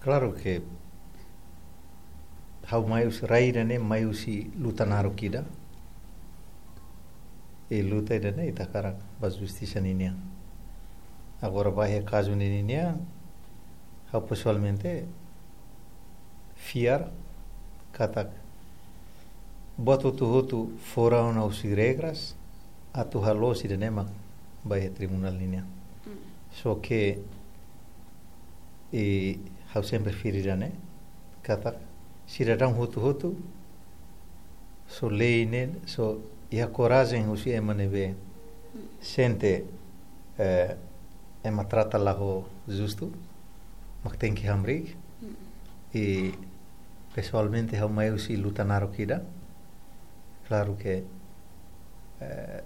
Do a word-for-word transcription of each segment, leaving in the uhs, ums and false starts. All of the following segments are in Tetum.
Klaru ke ha'u mai husi rai ida-ne'e, mai husi luta naruk ida. I luta ida-ne'e ita hakarak ba justisa ninian. Agora ba iha kazu ne'e ninian, ha'u pesoalmente fiar katak buat hotu-hotu fora ona husi regras, atu halo sira-ne'e mak ba iha tribunál ninian. Só ke, i ha'u sempre fiar ida-ne'e, katak sidadaun hotu-hotu, só lei ne'e, só iha korajen husi ema ne'ebé sente, eh, ema trata la ho justu, mak tenke hamriik. I pesoalmente ha'u mai husi luta naruk ida. Klaru ke, eh,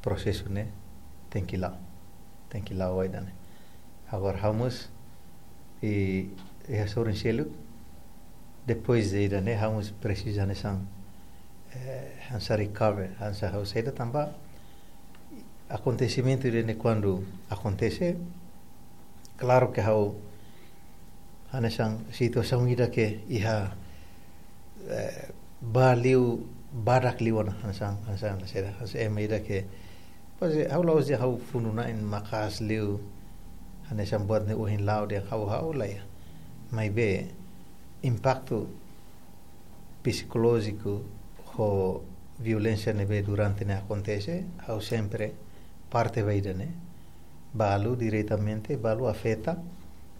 prosesu ne'e tenke la'o, tenke la'o ba ida-ne'e. Agora ha'u mós, i, i hasorin seluk, depois de ida-ne'e ha'u mós presiza hanesan, eh, hanesan recover, hanesan ha'u saida tanba akontesimentu ida-ne'e kuandu akontese, klaru ke ha'u hanesan situasaun ida ke iha, eh, ba liu, badak liu ona, hanesan, hanesan, hanesan, hanesan ema ida ke, pois, eh, ha'u la'ós dehan ha'u funu-na'in maka'as liu, hanesan buat ne'e ohin la'o dehan ha'u, ha'u lae. Maibé, impaktu psikolójiku ho violénsia ne'ebé durante ne'e akontese, ha'u sempre parte ba ida-ne'e. Balu diretamente, balu afeta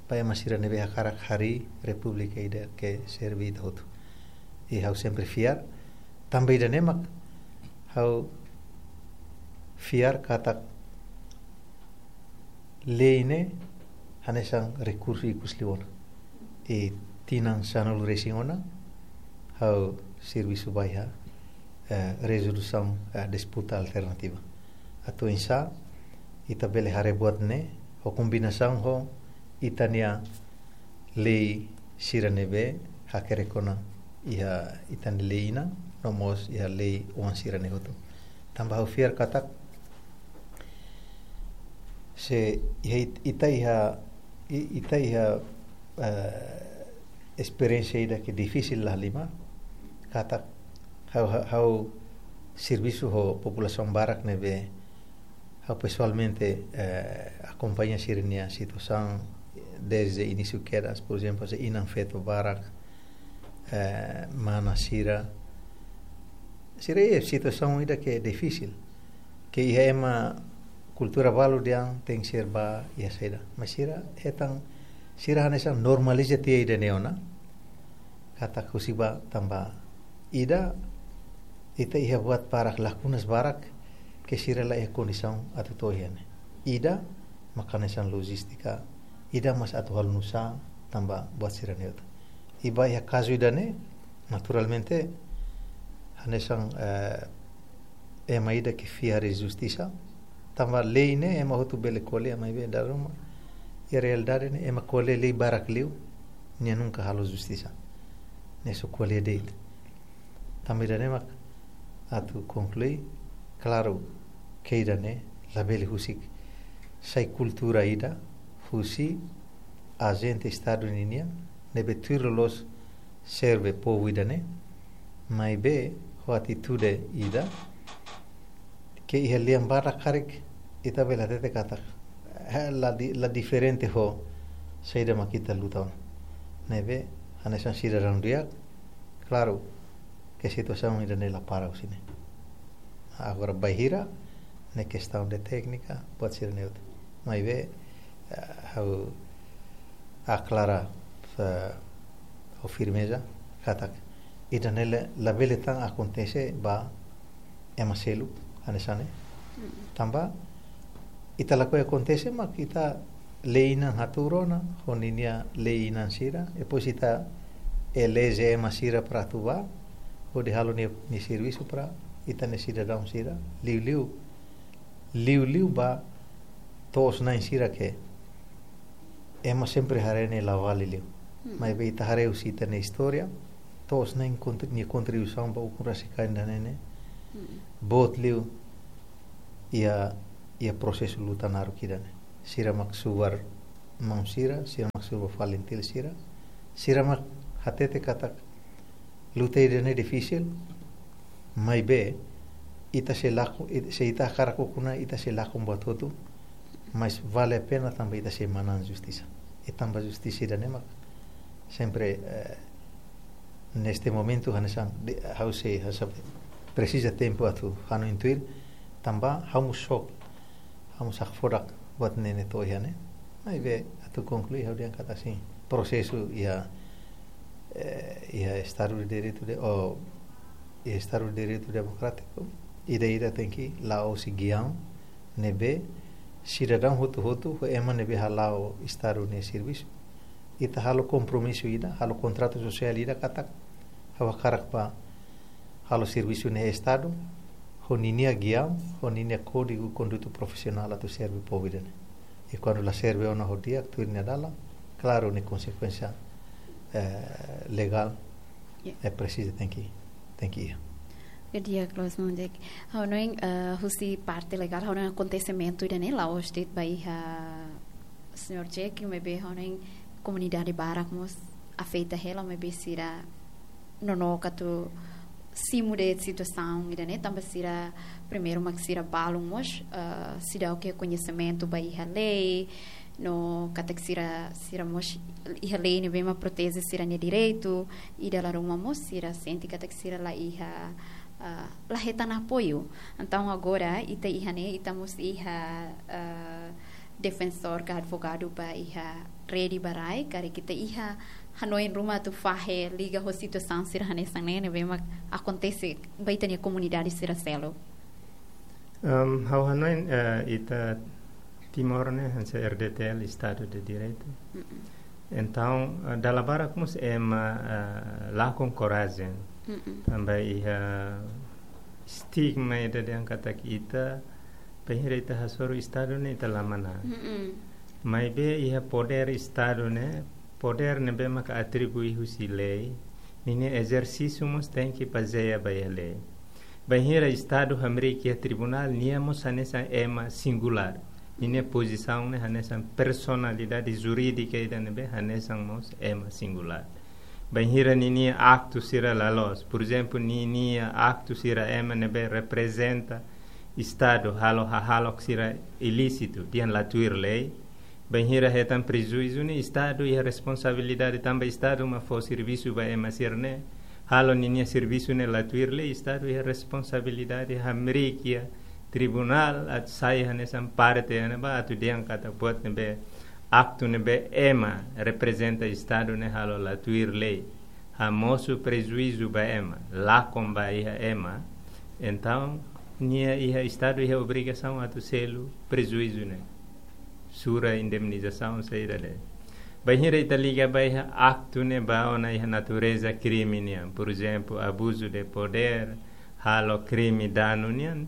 ba ema sira ne'ebé hakarak harii repúblika ida ke serve ita hotu. I ha'u sempre fiar, tanba ida-ne'e mak ha'u fiar katak lei ne'e hanesan rekursu ikus liu ona. I tinan sanulu-resin ona, ha'u servisu ba iha, eh, rezolusaun, eh, disputa alternativa. Atu oinsá ita bele haree buat ne'e, ho kombinasaun ho ita-nia lei sira ne'ebé hakerek ona iha ita-nia lei inan, no mós iha lei oan sira-ne'e hotu. Tanba ha'u fiar katak se iha it-, ita iha, i-, ita iha, eh, esperiénsia ida ke difisil la halimar, katak ha'u, ha'u, ha'u servisu ho populasaun barak ne'ebé ha'u pesoalmente, eh, akompaña sira-nia situasaun desde inísiu kedas, por ezemplu, se inan-feto barak, eh, mana sira. Sira iha situasaun ida ke difisil. Ke iha ema kultura balu dehan tenke ser ba iha saida. Mas sira hetan, sira hanesan normaliza tiha ida-ne'e ona. Katak husik ba tanba ida, ita iha buat barak, lakunas barak, ke sira la iha kondisaun atu to'o iha ne'e. Ida, mak hanesan lojístika, ida mós atu halo nusá, tanba buat sira-ne'e hotu. I ba iha kazu ida-ne'e, naturalmente, hanesan, eh, ema ida ke fiar iha justisa, tanba lei ne'e ema hotu bele ko'alia, maibé dala ruma, iha realidade ne'e, ema ko'alia lei barak liu, nia nunka halo justisa. Nia só ko'alia de'it. Tanba ida-ne'e mak atu konklui, klaru, ke ida-ne'e labele husik sai kultura ida husi ajente Estadu ninian, ne'ebé tuir loloos serve povu ida-ne'e, maibé ho atitude ida ke iha lian badak karik ita bele hatete katak, eh, la di-, la diferente ho saida mak ita luta ona. Ne'ebé, hanesan sidadaun di'ak, klaru, ke situasaun ida-ne'e la para husi ne'e. Agora bainhira ne'e kestaun de téknika, buat sira-ne'e hotu. Maibé, eh, ha'u aklara, eh, ho firmeza, katak ida-ne'e la-, labele tan akontese ba ema seluk, hanesan ne'e. Mm. Tanba, ita lakohi akontese, mak ita lei inan hatuur ona, ho ninia lei inan sira, depois ita eleje ema sira para atu bá, hodi halo nia, nia servisu para ita-nia sidadaun sira, liuliu, liuliu ba to'os-na'in sira ke ema sempre haree nia la vale liu. Mm. Maibé ita haree husi ita-nia istória, to'os-na'in kontri-, nia kontribuisaun ba ukun rasik kain ida-ne'e ne'e, mm, boot liu iha, iha prosesu luta naruk ida-ne'e. Sira mak subar maun sira, sira mak subar fali intil sira, sira mak hatete katak luta ida-ne'e difisil, maibé ita sei lakon, it-, se ita hakarak ukun ona, ita sei lakon buat hotu, mas vale a pena tanba ita sei manán justisa. I tanba justisa ida-ne'e mak sempre, eh, neste momentu hanesan de, ha'u sei, ha'u sei presiza tempu atu hanoin tuir, tanba ha'u mós xoke, ha'u mós hakfodak buat ne'e ne'e to'o iha ne'e. Maibé atu konklui ha'u dehan katak sin, prosesu iha, eh, iha Estadu de Direitu de, ou iha Estadu de Direitu Demokrátiku, ida-idak tenke la'o husi giaun ne'ebé sidadaun hotu-hotu, ho ema ne'ebé hala'o Estadu nia servisu. Ita halo kompromisu ida, halo kontratu sosiál ida katak ha'u hakarak bá halo servisu ne'e Estadu, ho ninia giaun, ho ninia kódigu konduta profisionál atu serve povu ida-ne'e. I kuandu la serve ona ho di'ak, tuir nia dalan, klaru nia konsekuénsia, eh, legál, Ya. eh, presiza tenke, tenke iha. Di'ak loos, maun Jack. Ha'u hanoin, eh, husi parte legál, ha'u hanoin akontesimentu ida-ne'e la'ós de'it ba iha señór Jack, maibé ha'u hanoin komunidade barak mós afeta hela, maibé sira nonook atu simu de'it situasaun ida-ne'e, tanba sira primeiru mak sira balun mós, eh, seidauk iha koñesimentu ba iha lei, no katak sira, sira mós iha lei ne'ebé mak proteje sira-nia direitu, i dala ruma mós sira sente katak sira la iha, ah, la hetan apoiu. Entaun agora ita iha ne'e, ita mós iha, ah, defensór ka advogadu ba iha rede ba rai, karik ita iha hanoin ruma atu fahe liga ho situasaun sira hanesan ne'e ne'ebé mak akontese ba ita-nia komunidade sira seluk. Em, ha'u hanoin, eh, ita Timor ne'e hanesan R D T L, Estadu de Direitu. Mm-mm. Entaun, eh, dala barak mós ema, eh, lakon korajen. Mm-mm. Tanba iha stigma ida dehan katak ita, bainhira ita hasoru Estadu ne'e ita la manán. Mm-mm. Maibé iha podér Estadu ne'e, podér ne'ebé maka atribui husi lei, ninia ezersísiu mós tenke bazeia ba iha lei. Bainhira Estadu hamriik iha tribunál, nia mós hanesan ema singulár. Ninia pozisaun ne'e hanesan personalidade jurídika ida ne'ebé hanesan mós ema singulár. Bainhira ninia aktu sira la loos, por ezemplu, ninia aktu sira ema ne'ebé reprezenta Estadu halo hahalok sira ilísitu, dehan la tuir lei. Bainhira hetan prejuízu ne'e, Estadu iha responsabilidade tanba Estadu mak fó servisu ba ema sira-ne'e, halo ninia servisu ne'e la tuir lei, Estadu iha responsabilidade hamriik iha tribunál atu sai hanesan parte iha ne'ebá atu dehan katak buat ne'ebé, aktu ne'ebé ema reprezenta Estadu ne'e halo la tuir lei, hamosu prejuízu ba ema, lakon ba iha ema. Entaun, nia iha Estadu iha obrigasaun atu selu prejuízu ne'e. Sura indemnizasaun saida de'it. Bainhira ita liga ba iha aktu ne'e ba ona iha natureza krime nian. Por ezemplu, abuzu de podér, halo krime danu nian.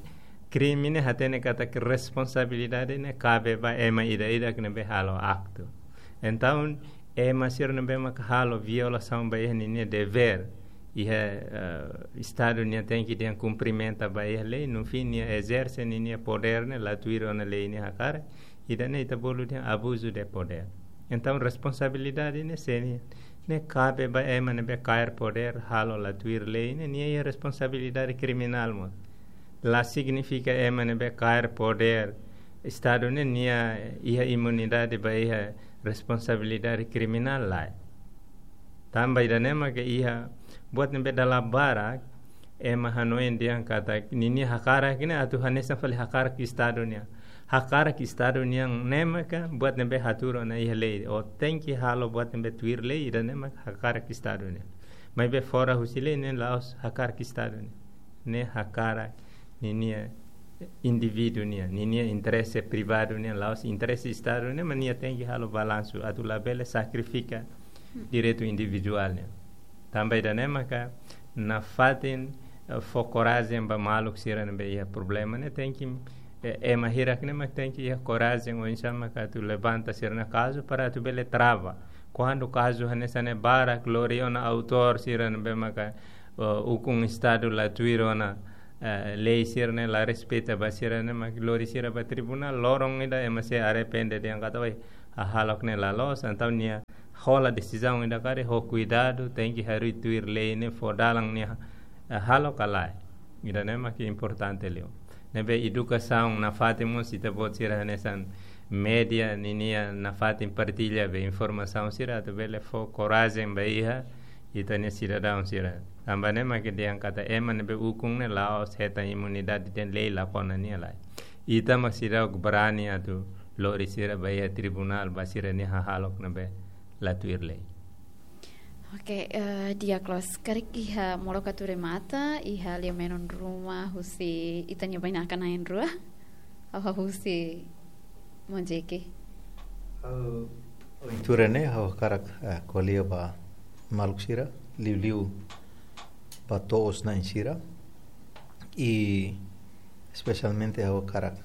Krime ne'e hatene katak responsabilidade ne'e kabe ba ema ida-idak ne'ebé halo aktu. Entaun, ema sira ne'ebé maka halo violasaun ba iha ninia devér, iha, eh, Estadu nia tenke dehan kumprimenta ba iha lei, no fin nia ezerse ninia podér ne'e la tuir ona lei nia hakarak, ida-ne'e ita bolu dehan abuzu de podér. Entaun, responsabilidade ne'e sé nian? Ne'e kabe ba ema ne'ebé kaer podér, halo la tuir lei ne'e, nia iha responsabilidade kriminál mós. La signifika ema ne'ebé kaer podér Estadu ne'e nia iha imunidade ba iha responsabilidade kriminál, lae. Tanba ida-ne'e maka iha buat ne'ebé dala barak ema hanoin dehan katak ninia hakarak ne'e atu hanesan fali hakarak Estadu nian. Hakarak Estadu nian ne'e maka buat ne'ebé hatuur ona iha lei. Ó tenke halo buat ne'ebé tuir lei, ida-ne'e maka hakarak Estadu nian. Maibé fora husi lei ne'e la'ós hakarak Estadu nian. Ne'e hakarak ninia indivíduu nian, ninia interese privadu nian, la'ós interese Estadu nian, mas nia tenke halo balansu, atu labele sakrifika direitu individuál nian. Tanba ida-ne'e maka nafatin, eh, fó korajen ba maluk sira ne'ebé iha problema ne'e tenke, eh, ema hirak ne'e mak tenke iha korajen oinsá maka atu levanta sira-nia kazu para atu bele trava. Kuandu kazu hanesan ne'e barak lori ona autór sira ne'ebé maka, eh, ukun Estadu la tuir ona, eh, lei sira-ne'e, la respeita ba sira-ne'e, mak lori sira ba tribunál, loron ida ema sei arrepende dehan katak, "Oi, hahalok ne'e la loos, entaun nia hola desizaun ida karik ho kuidadu, tenke harii tuir lei ne'e fó dalan nia hahalok ka lae. Ida-ne'e mak importante liu. Ne'ebé edukasaun nafatin mós, ita-boot sira hanesan média ninia nafatin partilla be informasaun sira atu bele fó korajen ba iha ita-nia sidadaun sira. Tanba ne'e mak dehan katak ema ne'ebé ukun ne'e la'ós hetan imunidade, dehan lei la kona nia lai. Ita mak seidauk barani atu lori sira ba iha tribunál ba sira-nia hahalok ne'ebé la tuir lei. Oke, eh, di'ak loos, karik iha molok atu remata, iha lia-menon ruma husi ita-nia bainaka na'in-rua, ha'u husi Monjeke. Ha'u, ohin tuur ne'e, ha'u hakarak, eh, ko'alia ba maluk sira, liuliu ba to'os-na'in sira. I espesialmente ha'u hakarak,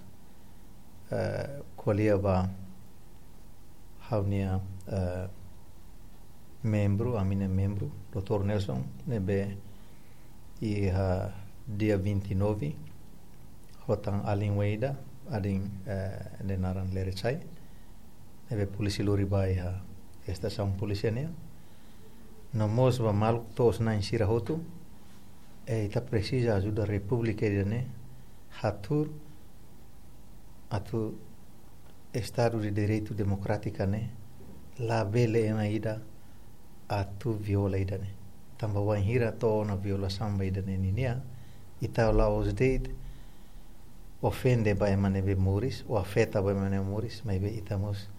eh, ko'alia ba ha'u-nia, eh, membru, ami-nia membru, doutór Nelson, ne'ebé iha dia vinte e nove, ho tan alin waida, alin, eh, nia naran Leresai, ne'ebé polísia lori ba iha estasaun polísia nian. No mós ba maluk to'os-na'in sira hotu, eh, ita presiza ajuda Repúblika ida-ne'e hatuur atu Estadu de Direitu Demokrátiku ne'e labele ema ida atu viola ida-ne'e. Tanba wainhira to'o ona violasaun ba ida-ne'e ninia, ita la'ós de'it ofende ba ema ne'ebé moris, ou afeta ba ema ne'ebé moris, maibé ita mós,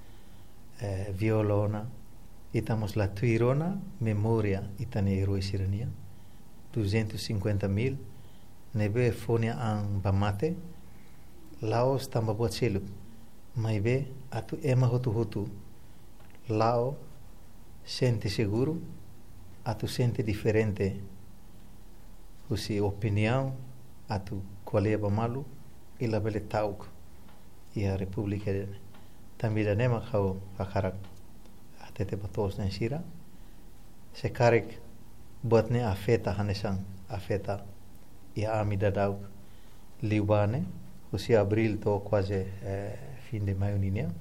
eh, viola ona, ita mós la tuir ona memória ita-nia erói sira-nian, duzentos e cinquenta mil, ne'ebé fó nia an ba mate, la'ós tanba buat seluk, maibé atu ema hotu-hotu la'o sente seguru, atu sente diferente husi opiniaun, atu ko'alia ba malu, i labele ta'uk iha Repúblika ida-ne'e. Tanba ida-ne'e mak ha'u hakarak hatete ba to'os-na'in sira. Se karik buat ne'e afeta hanesan afeta iha ami daudauk liubá ne'e, husi abríl to'o kuaze, eh, fin de maiu ninian.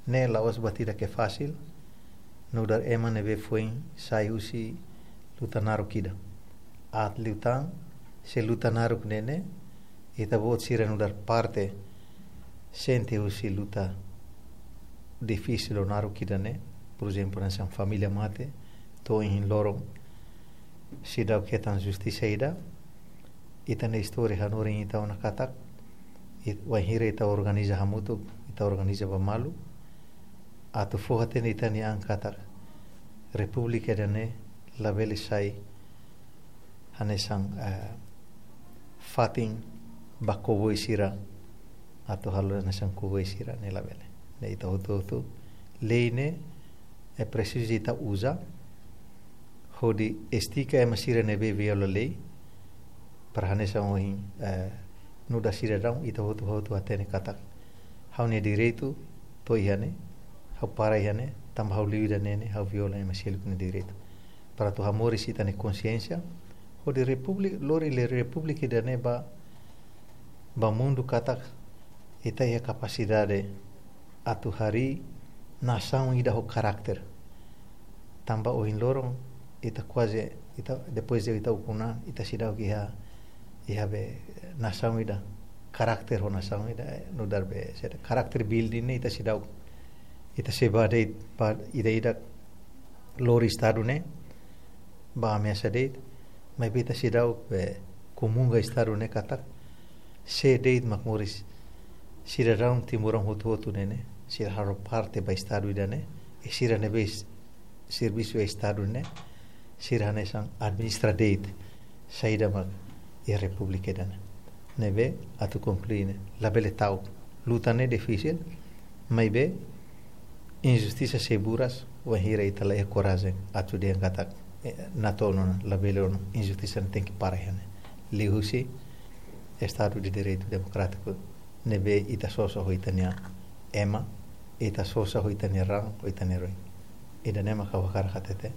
Ne'e la'ós buat ida ke fasil, nu'udar ema ne'ebé foin sai husi luta naruk ida. Aat liután, se luta naruk ne'e ne'e, ita-boot sira nu'udar parte sente husi luta difisil ou naruk ida-ne'e, por ezemplu, hanesan família mate, to'o ohin loron seidauk hetan justisa ida, ita-nia istória hanorin ita ona katak, it-, wainhira ita organiza hamutuk, ita organiza ba malu, atu fó-hatene ita-nia an katak Repúblika ida-ne'e labele sai hanesan, eh, fatin ba koboi sira, atu halo hanesan koboi sira, ne'e labele. Ne'e ita hotu-hotu, lei ne'e, eh, presiza ita uza hodi estika ema sira ne'ebé viola lei, para hanesan ohin, eh, nu'udar sidadaun, ita hotu-hotu hatene katak ha'u-nia direitu to'o iha ne'e, ha'u para iha ne'e, tanba ha'u liu ida-ne'e ne'e, ha'u viola ema seluk nia direitu. Para atu hamoris ita-nia konsiénsia, hodi Repúblika, lori lia Repúblika ida-ne'e ba, ba mundu katak ita iha kapasidade atu harii nasaun ida ho karakter. Tanba ohin loron ita kuaze, ita, depois de ita ukun an, ita seidauk iha, iha be nasaun ida, karakter ho nasaun ida, eh, nu'udar be, sede, karakter building ne'e ita seidauk, ita sei ba de'it, ba ida-idak lori Estadu ne'e, ba ameasa de'it, maibé ita seidauk be komunga Estadu ne'e katak, sé de'it mak moris, sidadaun timoroan hotu-hotu ne'e ne'e, sira halo parte ba Estadu ida-ne'e, i sira ne'ebé s-, servisu Estadu ne'e, sira hanesan administra de'it saida mak iha Repúblika ida-ne'e. Ne'ebé atu konklui ne'e, labele ta'uk. Luta ne'e difisil, maibé injustisa sei buras, wainhira ita la iha korajen atu dehan katak, eh, natoon ona, labele ona, injustisa ne'e tenke para iha ne'e. Liuhusi Estadu de Direitu Demokrátiku, ne'ebé ita sosa ho ita-nia ema, ita sosa ho ita-nia raan, ho ita-nia erói. Ida-ne'e mak ha'u hakarak hatete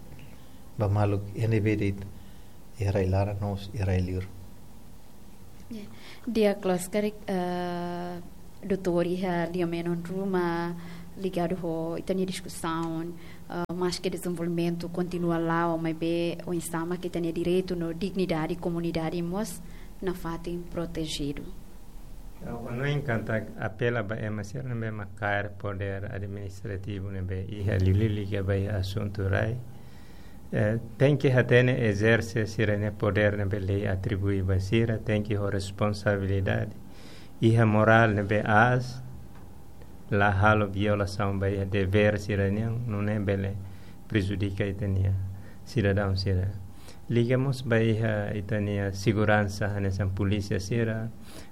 ba maluk iha ne'ebé de'it, iha rai-laran no mós iha rai-liur. Ya. Di'ak loos karik, eh, doutór, iha lia-menon ruma, Ligadu ho ita-nia diskusaun, ah, maske dezenvolvimentu kontinua la'o, maibé oinsá mak ita-nia direitu no dignidade komunidade mós nafatin protejidu. Ha'u hanoin katak apela ba ema sira ne'ebé mak kaer podér administrativu ne'ebé iha liuliu liga ba iha asuntu rai. Eh, tenke hatene ezerse sira-nia podér ne'ebé lei atribui ba sira, tenke ho responsabilidade. Iha morál ne'ebé aas, la halo violasaun ba iha devér sira-nian, nune'e bele prejudika ita-nia sidadaun sira. Liga mós ba iha ita-nia seguransa, hanesan polísia sira,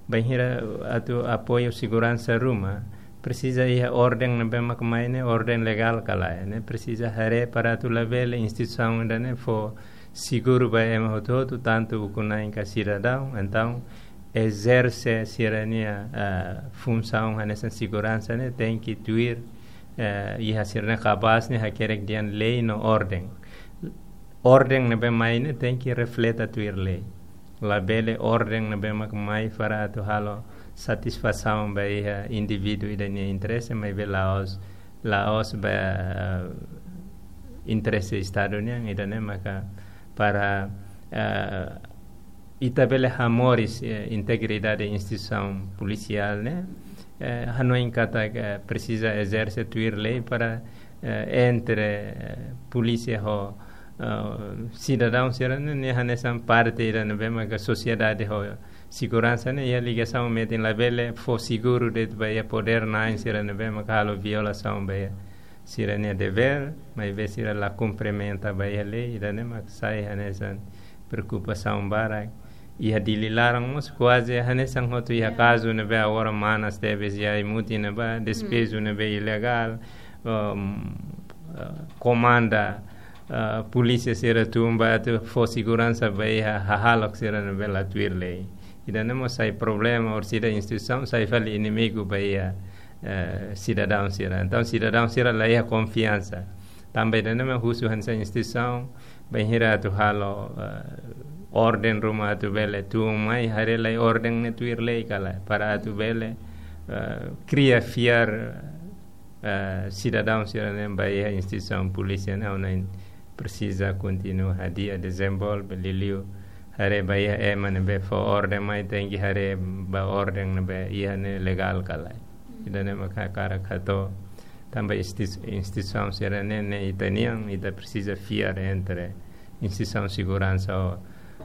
bainhira atu apoiu seguransa ruma, presiza iha orden ne'ebé mak mai ne'e orden legál ka lae, ne'e presiza haree para atu labele instituisaun ida-ne'e fó seguru ba ema hotu-hotu, tantu ukun-na'in ka sidadaun. Entaun, ezerse sira-nia, ah, funsaun hanesan seguransa ne'e tenke tuir, eh, iha sira-nia kabaas ne'e hakerek dehan lei no orden. Orden ne'ebé mai ne'e tenke refleta tuir lei. Labele orden ne'ebé mak mai para atu halo satisfasaun ba iha indivíduu ida-nia interese, maibé la'ós, la'ós ba, eh, interese Estadu nian, ida-ne'e maka para, eh, ita bele hamoris, eh, integridade instituisaun polisiál ne'e, eh, hanoin katak presiza ezerse tuir lei para, eh, entre, eh, polísia ho, eh, sidadaun sira-ne'e, ne'e hanesan parte ida ne'ebé maka sosiedade ho seguransa ne'e iha ligasaun metin, labele fó seguru de'it ba iha podér-na'in sira ne'ebé maka halo violasaun ba iha sira-nia devér, maibé sira la kumprimenta ba iha lei, ida-ne'e mak sai hanesan preokupasaun barak. Iha Dili laran mós kuaze hanesan hotu iha Ya. kazu ne'ebé agora manas tebes iha ai-mutin ne'ebá, despeju ne'ebé ilegál, um, uh, komanda, uh, polísia sira tun ba atu fó seguransa ba iha hahalok sira ne'ebé la tuir lei. Ida-ne'e mós sai problema, orsida instituisaun sai fali inimigu ba iha, eh, sidadaun sira. Entaun, sidadaun sira la iha konfiansa. Tanba ida-ne'e mak husu hanesan instituisaun, bainhira atu halo, eh, orden ruma atu bele tun mai, haree lai orden ne'e tuir lei ka lae, para atu bele, eh, kria fiar, eh, sidadaun sira-ne'e ba iha instituisaun polísia ne'e, ha'u hanoin presiza kontinua hadi'a, dezenvolve, liuliu haree ba iha ema ne'ebé fó orden mai tenke haree ba orden ne'ebé iha ne'e legál ka lae. Ida-ne'e mak ha'u hakarak hato'o, tanba institu-, instituisaun sira-ne'e, ne'e ita-nian, ita presiza fiar entre instituisaun seguransa ho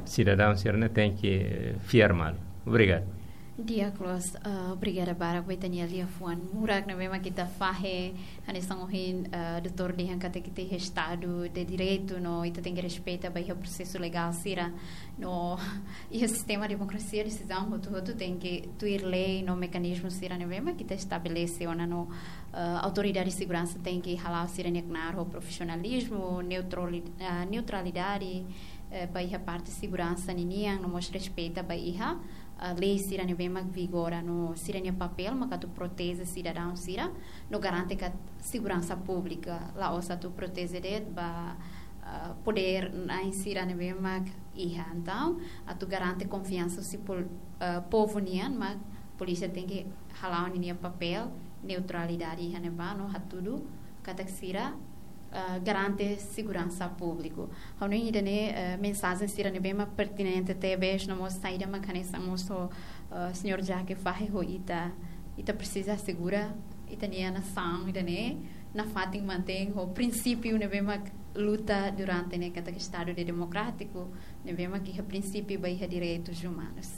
sidadaun sira-ne'e tenke, eh, fiar malu. Obrigadu. Di'ak loos, eh, obrigada barak ba ita-nia liafuan murak ne'ebé mak ita fahe, hanesan ohin, eh, doutór dehan katak ita iha Estadu de Direitu no ita tenke respeita ba iha prosesu legál sira no iha sistema demokrasia, desizaun hotu-hotu tenke tuir lei no mekanizmu sira ne'ebé mak ita estabelese ona no, eh, autoridade seguransa tenke hala'o sira-nia knaar ho profisionalizmu, neutrali-, eh, neutralidade, eh, ba iha parte seguransa ninian no mós respeita ba iha, eh, lei sira ne'ebé mak vigora no sira-nia papél mak atu proteje sidadaun sira no garante katak seguransa públika, la'ós atu proteje de'it ba, eh, podér-na'in sira ne'ebé mak iha. Entaun, atu garante konfiansa husi pol-, eh, povu nian mak polísia tenke hala'o ninia papél neutralidade iha ne'ebá no hatudu katak sira, eh, garante seguransa públiku. Ha'u hanoin ida-ne'e, eh, mensajen sira ne'ebé mak pertinente tebes no mós saida mak hanesan mós ho, eh, señór Jaque fahe ho ita, ita presiza asegura ita-nia nasaun ida-ne'e nafatin mantein ho prinsípiu ne'ebé mak luta durante ne'e katak Estadu de demokrátiku, ne'ebé mak iha prinsípiu ba iha direitus umanus.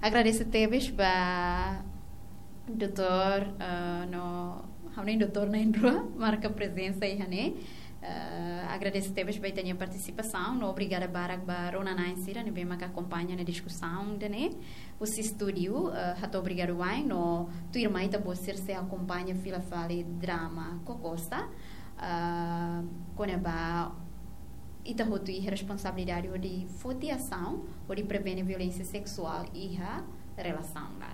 Agradese tebes ba doutór, eh, no, ha'u hanoin doutór na'in-rua, marka prezensa iha ne'e. Eh, agradese tebes ba ita-nia partisipasaun, no obrigada barak ba rona-na'in sira ne'ebé mak akompaña nia diskusaun ida-ne'e. Husi estúdiu, eh, hato'o obrigadu wa'in, no tuirmai ita-boot sira sei akompaña fila fali drama Kokosta, eh, kona-ba ita hotu iha responsabilidade hodi foti asaun, hodi prevene violénsia seksuál iha relasaun laran.